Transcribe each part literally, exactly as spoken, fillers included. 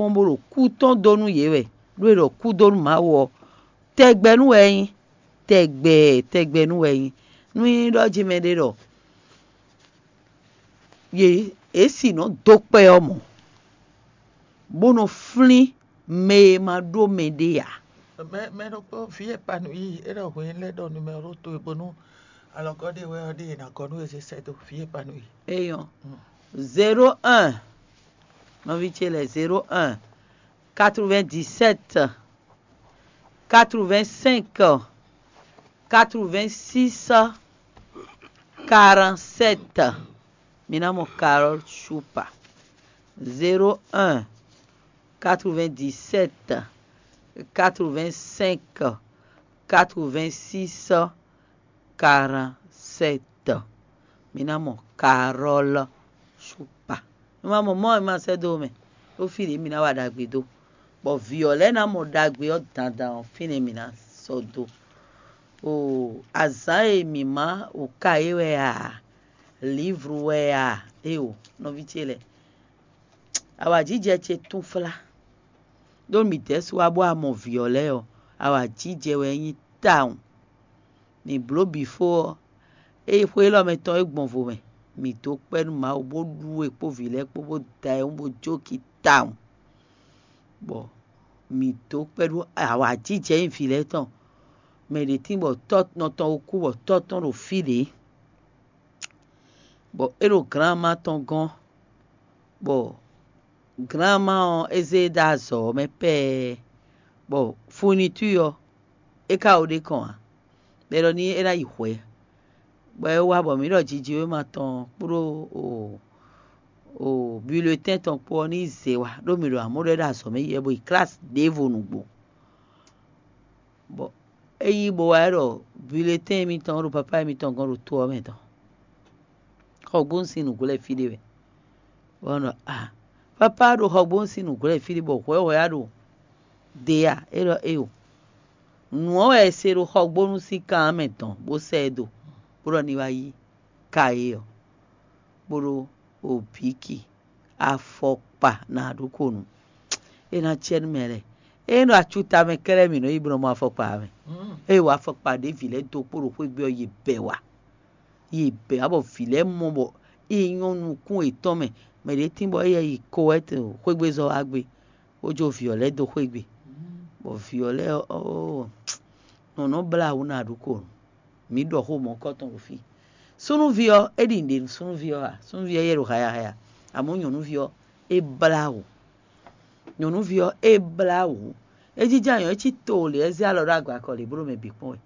kpɔ́n bó ɖo kú tɔn dó nú yě wɛ, ɖó è ɖɔ kú dó nú Mawu ɔ́, tɛgbɛ nú wɛ é nyí, tɛgbɛ tɛgbɛ nú wɛ é nyí. Nú nyí ɖɔ jí mɛɖé ɖɔ yě é sì nɔ dó kpɛ ɔ́ mɔ̌, bó nɔ flín mɛ e ma ɖó mɛɖé ǎ. Mɛ mɛ ɖokpó vǐ e pa nǔ yi é ɖɔ hwǐn lɛ́ ɖɔ numɛro towe bónú alɔgɔ́ ɖé wɛ ɔ́ ɖe è nǎ gɔ́ nú e zé sɛ́ dó vǐ e pa nǔ yi. Eyɔn, zéro un, nɔví ce lɛ́ɛ, zéro un, quatre-vingt-dix-sept, quatre-vingt-cinq, quatre-vingt-six, quarante-sept. Mi ná mɔ Carole Choupa. Zéro un, quatre-vingt-dix-sept, quatre-vingt-cinq, quatre-vingt-six, quarante-sept. Mi ná mɔ Carole Choupa. Mi ma mɔ mɔ mi ma sɛ́ dó mɛ. Ɖó fí ɖě mi ná wa ɖagbe dó. Bɔ vǐ ɔ́ lɛ́ɛ ná mɔ ɖagbe ɔ́ dandan ɔ́, fínɛ́ mi ná sɔ́ dó. O azǎn e mǐ má o ka é wɛ a, lǐvru wɛ a, éeǒ, nɔví ce lɛ́ɛ. Awǎjijɛ ce túnflá. Ɖó mǐ dɛ̌ su wá bó wá mɔ vǐ ɔ́ lɛ́ɛ ɔ́, awǎjijɛ wɛ é nyí tawun. Mǐ bló bǐ fó ɔ́, ée xwé élɔ́ mɛ tɔn é gbɔn vo mɛ, mǐ dó kpɛ́ nú Mawu bó ɖu we kpó vǐ lɛ́ɛ kpó bó da ayihún bó jó ki tawun. Bɔ mǐ dó kpɛ́ ɖó awǎjijɛ nyí vǐ lɛ́ɛ tɔn. Mɛ ɖě tín bɔ tɔ́ nɔ tɔn ko kú bɔ tɔ́ tɔn ɖo fí ɖě, bɔ é ɖo glǎnma tɔn gɔ́n, bɔ glǎnma ɔ́ é zé e dó azɔ̌ ɔ́ mɛ pɛ́ɛ, bɔ funitú ɔ́ é ka o ɖe kɔn ǎ, bɔ é ɖɔ n'i é ná yi hwɛ̌, bɔ é wá bɔ mǐ ɖɔ jijiwéma tɔn kpódó o o bulletɛ́n tɔn kpó ɔ́ ní zě wá, ɖó mǐ ɖo amɔ̌ ɖɔ é ɖo azɔ̌ mɛ yi wɛ bó yi klasi ɖěvo nǔgbó. Bɔ é yí bó wá ɖɔ bulletɛ́n émítɔn ɖo papá émítɔn gɔ́n ɖo to ɔ́ mɛ tɔn. Xɔgbónu sín nǔgbó lɛ́ɛ fí ɖé wɛ. Bɔ é ɖɔ a, papá ɖo xɔgbónu sín nǔgbó lɛ́ɛ fí ɖé bɔ hwɛ̌hwɛ́ á ɖo de a? É ɖɔ éeǒ. Nǔ ɔ́ wɛ è se ɖo xɔgbónu sín kan ɔ́ mɛ dɔn bó sɛ́ ɛ dó, bó ɖɔ ní wá yí ka é ɔ́, bó ɖó obǐki, afɔkpa ná ɖó ko nǔ. É ná cɛ nú mɛ lɛ́ɛ. Ényí ɖo acuta mɛ kɛ́ɖɛ́ mǐ nɔ yi bó nɔ mɔ afɔkpa ɔ́ mɛ. Ée wɔ afɔkpa ɖě vǐ lɛ́ɛ dó kpó ɖo xwé gbe ɔ́, yě bɛ wá. Yě bɛ wá bɔ vǐ lɛ́ɛ mɔ bɔ é nyɔ́ nukún yětɔn mɛ. Mɛ ɖě tín bɔ éyɛ́ yi Kowɛ́t xwégbezɔ́ wá gbé, bó jó vǐ ɔ́ lɛ́ɛ dó xwé gbe. Bɔ vǐ ɔ́ lɛ́ɛ ɔ́, nɔ nɔ blá wǔ ná ɖu ko. Mǐ ɖɔ xó mɔ̌kɔtɔn ɖo fí. Súnnuví ɔ́, é ɖi nǔɖé nú súnnuví ɔ́ ǎ. Súnnuví ɔ́ yɛ ɖo hayahaya, amɔ̌ nyɔ̌nuví ɔ́, é blá wǔ. Nyɔ̌nuví ɔ́, é blá wǔ. É jínjɔ́n anyɔ, é cí to lě, é zé alɔ ɖó agbakɔ lě, bó ɖo mɛ bǐ kpɔ́n wɛ.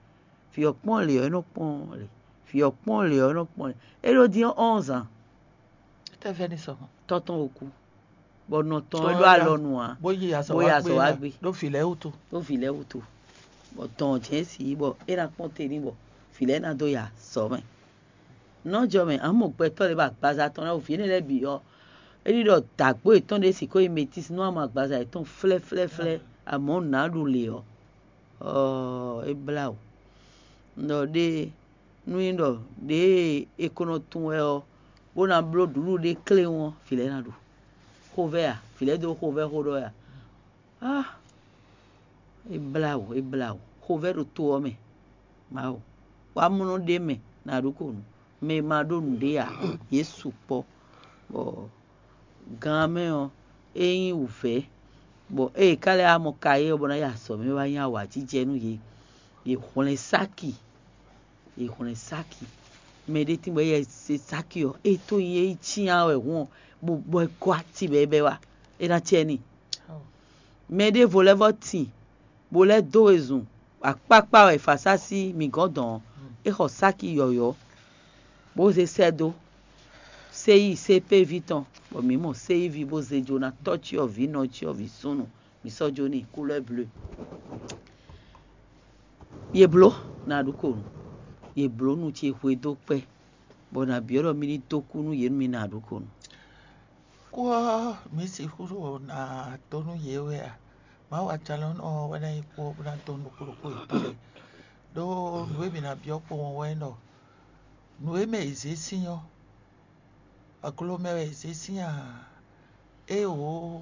Vǐ ɔ́ kpɔ́n lě ɔ́, é nɔ kpɔ́n lě. Vǐ ɔ́ kpɔ́n lě ɔ́, é nɔ kpɔ́n lě. É ɖó dín ɔ́, onze ans. Étɛ́ vɛ́ ní sɔ mɔ̌? Tɔ́ tɔn o kú, bɔ nɔ tɔn é ɖó alɔ nu ǎ, bó yi azɔ̌ bó yi wá azɔ̌ gbé wá ná, gbé. Ɖó vǐ lɛ́ɛ wútu. Ɖó vǐ lɛ́ɛ wútu. Bɔ dɔn jɛ́n si bɔ é ná kpɔ́n te n'i bɔ vǐ lɛ́ɛ ná dó ya azɔ̌ mɛ. Nɔ́ jɔ mɛ, ǎ mɔ gbɛtɔ́ lɛ́ɛ bɔ agbaza tɔn lɛ́ɛ, vǐ énɛ́ lɛ́ɛ bǐ ɔ́, é ɖi ɖɔ dǎgbó yětɔn ɖé sixú yi métis nú ama agbaza yětɔn flɛ́flɛ́flɛ́, amɔ̌ nǎ ɖu lě ɔ́, ɔɔ, é blá wǔ. Un ɖɔ ɖée, nú nyí ɖɔ ɖěe è ko nɔ tunwun wɛ ɔ́, bó ná bló ɖǔɖú ɖé kléwún ɔ́, vǐ lɛ́ɛ ná ɖu. Xovɛ́ a? Vǐ lɛ́ɛ dó xovɛ́ xó ɖɔ wɛ a? Ah, é blá wǔ, é blá wǔ. Xovɛ́ ɖo to ɔ́ mɛ. Mawu, wá mlɔ́ ɖ'é mɛ ná ɖó ko nǔ. Mɛ e ma ɖó nǔɖé ǎ, yě sukpɔ́. Bɔ gan ɔ́ mɛ ɔ́, é nyí wǔvɛ́, bɔ ée yě ka lɛ́ wá mɔ kayɛ́ ɔ́ bɔ ná yi azɔ̌ mɛ wá nyí awǎjijɛ nú yě. Yě hwlɛ́n sáki, yě hwlɛ́n sáki. Mɛ ɖé tín bɔ é yɛ se sáki ɔ́, é tó nyi é yi cyán wɛ hǔn ɔ́, bó bɔ é gɔ́ ati bɔ é bɛ́ wá, é ná cɛ n'i. Mɛ ɖěvo lɛ́ vɔ́ tin, bó lɛ́ dó wezun, akpákpá wɛ è fǎ sá sí mǐ gɔ́n dɔ̌n ɔ́, é xɔ sáki yɔ̌yɔ́, bó zé sɛ́ dó Séyi, Sépévi tɔn, bɔ mǐ mɔ Séyiví bó zé jó ná tɔ́ cyɔvǐ, nɔ cyɔvǐ súnnu, mǐ sɔ́ jó n'i couleur bleue. Yě bló ná ɖu ko nǔ, yě bló nu ce hwe dó kpɛ́, bɔ nǎ byɔ́ ɖɔ mí ní dó kú nú yě nú mì ná ɖu ko nǔ. Kú ɔ́, mǐ sixú ɖo ná dó nú yě wɛ a? Mawu ajalɔ̌nɔ ɔ́ wɛ ná nyí kú ɔ́ bó ná dó nú ɖokpó ɖokpó yětɔn lɛ́ɛ. Ɖó nǔ e mǐ ná byɔ́ kpowun ɔ́ wɛ nyí ɖɔ nǔ e mɛ è zě sín ɔ́, aglo mɛ wɛ è zě sín a? Éeǒ,